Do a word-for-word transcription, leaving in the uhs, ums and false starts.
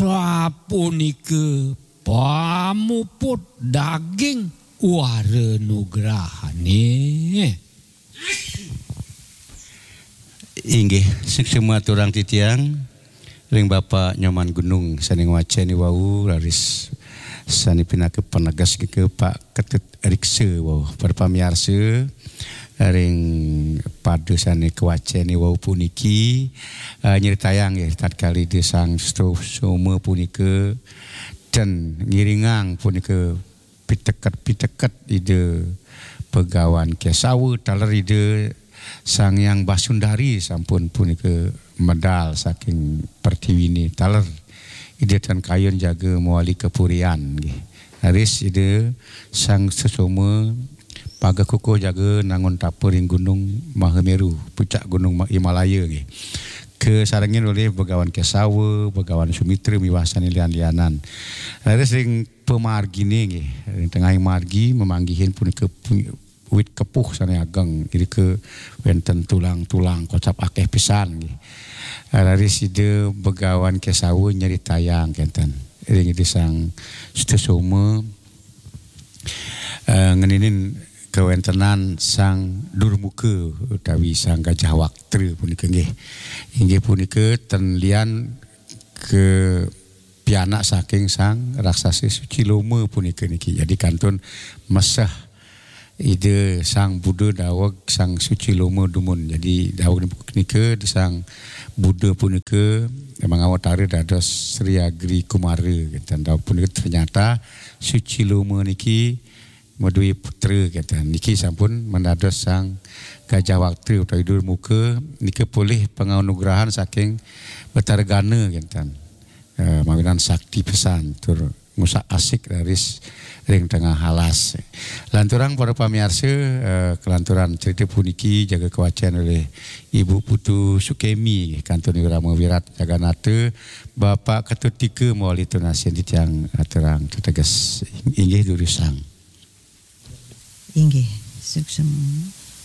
Sapunika pamuput daging wara nugrahane. Inggih, suksma aturang titiang ring Bapak Nyoman Gunung sane ngwaceni wau, raris sane pinaka paneges nika Pak Ketut Riksa wau. Para pamiarsa, ring pada sane kawaceni wau puniki, eh, nyritayang nggih tatkala Ida Sang Sutasoma punika ten ngiringang punika piteket-piteket Ida Begawan Kesawa taler Ida Sang Hyang Basundari sampun punika medal saking pertiwine taler Ida tan kayun jaga mawali kapurian nggih. Raris Ida Sang Sutasoma paga kukuh jaga nangun tapa ring Gunung Mahameru, pucak Gunung Ma-, Himalaya nggih. Kasarengin olih Begawan Kesawa, Begawan Sumitra miwah sane lian-lianan. Raris ring pamargine nggih, ring tengahing margi mamanggihin punika pu-, wit kepuh sane ageng, irika wenten tulang-tulang kocap akeh pisan nggih. Raris Ida Begawan Kesawa nyritayang kenten ring Ida Sang Sutasoma, eh, ngeninin kawentenan Sang Durmuka utawi Sang Gajah Waktra punika nggih. Inggih punika ten lian ke pianak saking Sang Raksasa Suciloma punika niki. Jadi kantun meseh Ida Sang Buddha daweg Sang Suciloma dumun. Jadi daweg nika Ida Sang Buddha punika mangawatara dados Sri Agri Kumara. Dan daweg punika ternyata Suciloma niki madué putra kenten. Niki sampun mendados Sang Gajah Waktra utawi Durmuka nika polih panganugrahan saking Betara Gana kenten. Eh, mawinan sakti pesan tur ngusak asik raris ring tengah alas. Lanturang para pamiarsa, eh, kelanturan cerita puniki jaga kawacen oleh Ibu Putu Sukemi, kantun Wirama Wirat Jaganata, Bapak Ketut Tika mawali tunasin titiang aturang teteges. Inggih durusang. Inggih, suksma.